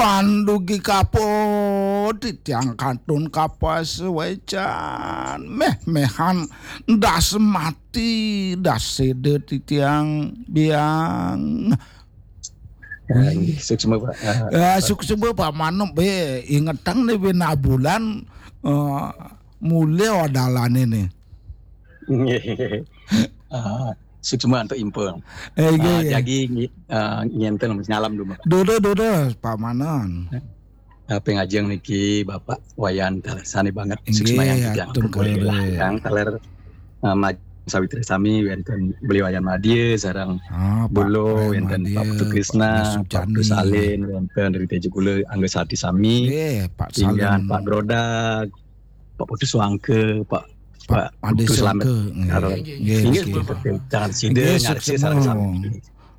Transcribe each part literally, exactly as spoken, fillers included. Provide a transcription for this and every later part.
Pandugi kapo titiang kantun kapas wecan meh-mehan das mati das sede titiang biang. Suksma Pak. Ya, suksma Pak Mano be ingetang nih bina bulan eh, mulai odalane nih. Ah, suksma antuk impun. Eh, Ah, iya. Jagi ngi- ah, nginten nyalam dulu. Dodo dodo Pak Manon. Apa ngajeng niki Bapak Wayan taler sane banget Inggih, suksma yang atur yang kere. Yang taler ah, maj- sawitri sami wenten beli Wayan Madya sareng Ah, Pak Bulo Ren wenten Madya, Pak Putu Krisna, Pak Pak Putu Sujani. Salin wenten dari Tejo Gula Angga Sati sami. Eh, Pak Pinggan Salin. Pak Grodak, Pak Putu Suangke, Pak Pak Ade Putu Selamat. Sangke. Nggih, Karo- nggih, Inggih, nggih. Jangan sida Nggih, ngarsi suksma. Sareng sami.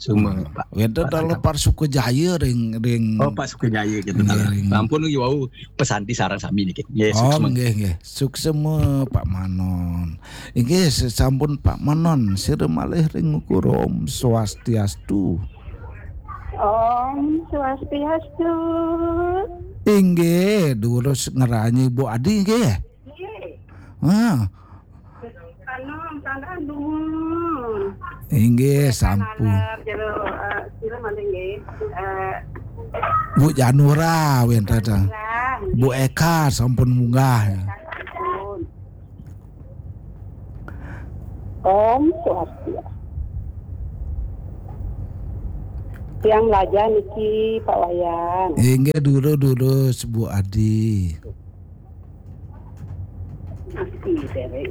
Semua Pak. Wenten Pak dalu Sangka. Pak Sukajaya ring ring Oh, Pak Sukajaya gitu. Nggih, ring. Ampun iki wau pesanti sareng sami niki. Nggih, Oh, suksma. Nggih, nggih. Suksma Pak Manon. Inggih, sesampun Pak Manon sira malih ring ukur Om Swastiastu. Om Swastiastu. Inggih, durus ngeranyi Bu Adi nggih. Nggih. Ah, Anu, tandaan dumun. Inggih sampun. Alar jero eh, sira malih nggih. Eh, Bu Janura wenten. lah. Bu Eka sampun munggah. Ampun. Om Swastiastu. Tiang melajar niki Pak Wayan. Inggih durus-durus Bu Adi. Niki dereng.